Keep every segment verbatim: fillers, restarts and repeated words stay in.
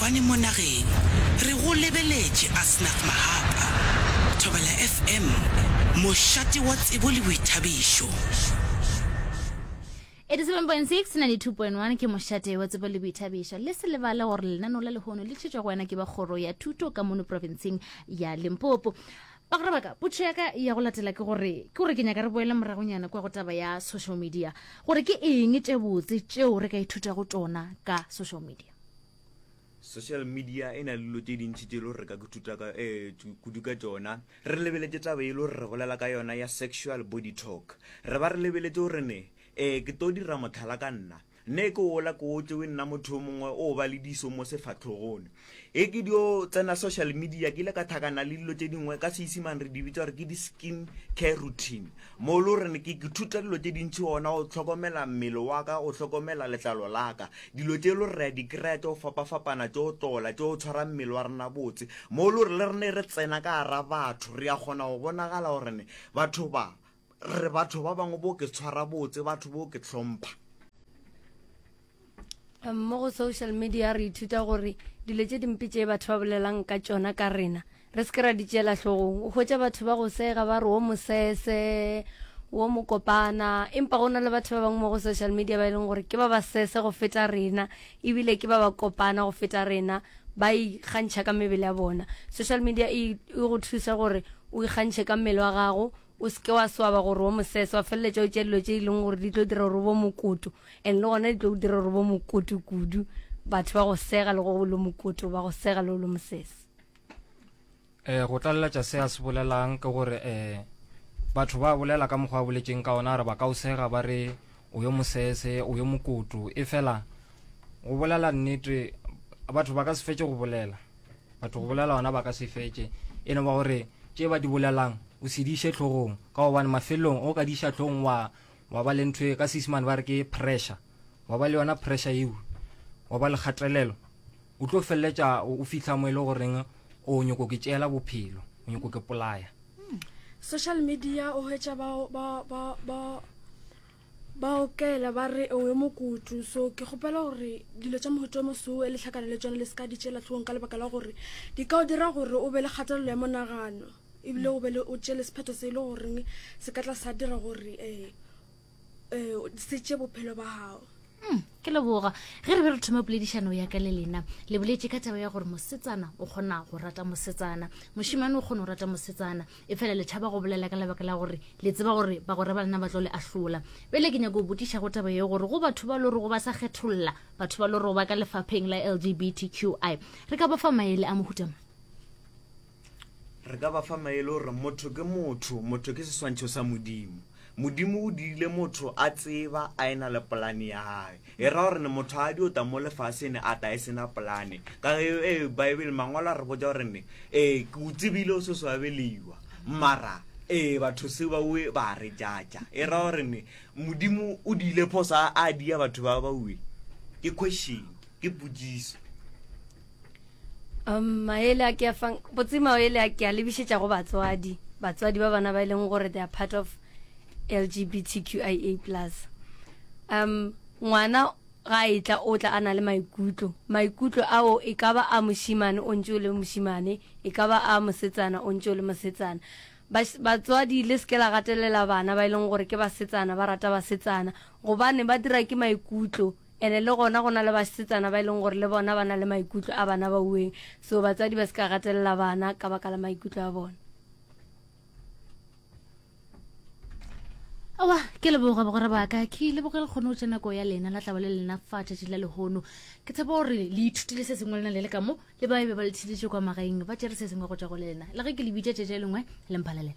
Difofane mo nageng. Re go lebeletše Asnath Mahapa. Thobela F M, mošate wa tsebo le boithabišo. eighty-seven point six ninety-two point one ke mošate wa tsebo le boithabišo. Le se lebale gore lenaneo la lehono le tšhetšwa go wena ke ba kgoro ya thuto ka mono profenseng ya Limpopo. Bagwera ba ka, potšo ya ka ya go latela ke gore, ke gore ke nyaka re boele moragonyana kwa go taba ya social media, gore ke eng tše botse tšeo re ka ithutago tšona ka social media? Social media e na le dilo tše dintši tše e le gore re ka ithuta ka, eh, kudu ka tšona. Re lebeletše taba e le gore re bolela ka yona ya sexual body talk. Re ba re lebeletše gore ne, eh, ke tlo dira mohlala ka nna. Nne ke ola ke o tšewe nna motho yo mongwe o ba le diso mo sefahlogong. E ke dio tsena social media, ke ile ka thakana le dilo tše dingwe ka Seisimane re di bitša gore ke di-skin care routine. Mo e le gore ke, ke thuta dilo tše dintši gona go hlokomela mmele wa ka, go hlokomela letlalo la ka. Dilo tše e le gore re a di kry-a tše go fapafapana, tše go tlola, tše go tshwara mmele wa rena botse. Mo e le gore le rena re tsena ka gara batho, re a kgona go bonagala gore ne batho ba, re batho ba bangwe bo ke tshwara botse, batho bo ke hlompha. Um, mo go social media re ithuta gore dilo tše dimpe tše batho ba bolelang ka tšona ka rena re se ke ra di tšeela hlogong. O hwetša batho ba go sega ba re o mosese, o mokopana, empa go na le batho ba bangwe mo go social media ba e leng gore ke ba ba sese go feta rena, ebile ke ba ba kopana go feta rena, ba ikgantšha ka mebele ya bona. Social media e, e go thusa gore o ikgantšhe ka mmele wa gago, o se ke wa swaba gore o mosese, wa feleletša o tšea dilo tše e leng gore di tlo dira gore o bo mokoto, and le gona di tlo dira gore o bo mokoto kudu. Batho ba go sega le go lo mokoto, ba go sega le go lo mosese. Eh, go tlaleletša se a se bolelang ke gore, eh, batho ba bolela ka mokgwa a boletšeng ka ona, re ba ka o sega ba re o yo mosese, o yo mokoto. E fela go bolela nnete, batho ba ka se fetše go bolela. Batho go bolela ona ba ka se fetše. E no ba gore tše ba di bolelang o se di iše hlogong, ka gobane mafelong o ka di iša hlogong wa, wa ba le ntho e ka Seisemane ba re ke pressure, wa ba le yona pressure eo, wa ba le kgatelelo, o tlo feleletša o fihla mo e le goreng o nyoko ke tšeela bophelo, o nyoko ke polaya. Hmm. Social media o hwetša ba, ba, ba, ba, ba okela ba re o yo mokutu. So ke kgopela gore dilo tša mohuta o moso e le hlakane le tšona le se ka di tšeela hlogong, ka lebaka la gore di ka o dira gore o be le kgatelelo ya monagano, ebile o be le o tšele sephetho se e le goreng se ka tla sa dira gore, eh, eh, se tšee bophelo ba gago. Hmm, ke leboga. Ge re be re thoma poledišano ya ka le lena, le boletše ka taba ya gore mosetsana o kgona go rata mosetsana, mošemane o kgona go rata mosetsana, e fela le tšhaba go bolela ka lebaka la gore le tseba gore bagwera ba lena ba tlo le ahlola. Bjale ke nyaka go botšiša go taba ye gore go batho ba lorego ba sa kgetholla, batho ba lorego ba ka lefapheng la L G B T Q I, re ka ba fa maele a mohuta mang? Re ka ba fa maele gore motho ke motho, motho ke seswantšho sa Modimo. Modimo o dirile motho a tseba a ena le polane ya hae. E ra gore ne motho a dio ta mo lefaseng a ta e sena polane. Ka ge, eh, Bible mangwalo a re botša gore ne, eh, ke o tsebile o se so abeliwa. Mara, eh, batho se ba oe ba re jatša. E ra gore ne Modimo o diile phoso a, a dia batho ba ba oe. Ke question, ke potšiso. Um, maele a ke a fang, botse maele a ke a lebišetša go batswadi, batswadi ba bana ba e leng gore they are part of L G B T Q I A plus. Um, ngwana ga e tla, o tla a na le maikutlo. Maikutlo ao e ka ba a mošemane o ntše o le mošemane, e ka ba a mosetsana o ntše o le mosetsana. Bas-, batswadi le se ke la gatelela bana ba e leng gore ke basetsana, ba rata basetsana, gobane ba dira ke maikutlo. Ene le gona go na le basetsana ba e leng gore le bona ba na le maikutlo a bana ba ueng. So batswadi ba se ka gatelela bana ka baka la maikutlo a bona. Aowa, ke leboga bagwera ba ka, ke leboga le kgone go tša nako ya lena la tlaba le lena fa tšatši la lehono. Ke tshepa gore le ithutile se sengwe lena le le ka mo, le ba be ba le theletše kwa magaeng, ba tšere se sengwe go tšwa go lena. Le ge ke le bitša tšatši le lengwe, le mphalelele.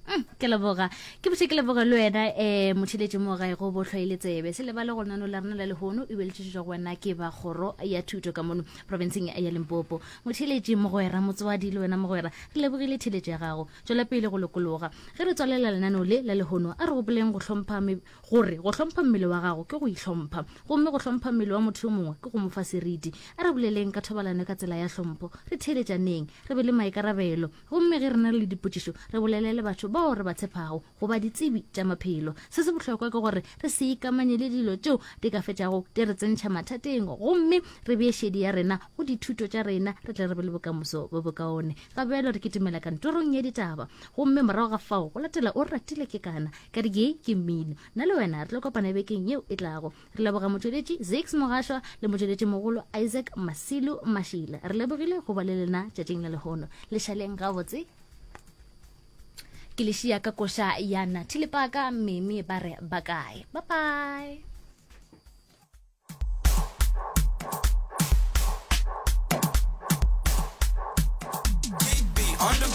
Mm, ke leboga. Ke botše ke leboga le wena, eh, motheletši mo gae go bohlwaile tsebe. Se lebale go lenaneo la rena la lehono e be le tšetšwa go wena ke ba kgoro ya thuto ka mono profenseng ya Limpopo. Motheletši mogwera, motswadi le wena mogwera, re lebogile theletšo ya gago. Tšwela pele go lokologa. Ge re tswalela lenaneo le la lehono, a re gopoleng go hlompha me-, gore go hlompha mmele wa gago ke go ihlompha, gomme go hlompha mmele wa motho yo mongwe ke go mo fa seriti. A re boleleng ka thobalano ka tsela ya hlompho, re theeletšaneng, re be le maikarabelo, gomme ge re na le dipotšišo re bolele le batho bao bao re ba tshepago goba ditsebi tša maphelo. Se se bohlokwa ke gore re se ikamanye le dilo tšeo di ka fetšago di re tsentšha mathateng gomme re bee šedi ya rena go dithuto tša rena re tle re be le bokamoso bo bokaone. Ga bjalo re kitimela kantorong ya ditaba gomme morago ga fao go latela O Ratile Ke Kana ka di ke mmino. Nna le wena re tlo kopana bekeng yeo e tlago. Re leboga motšweletši Zakes Mogašwa le motšweletši mogolo Isaac Masilu Mashila. Re lebogile go ba le lena tšatšing la lehono. Le šaleng gabotse. Ke le šia ka koša ya Nathi Lepaka, Mimi ba re ba kae. Bye bye.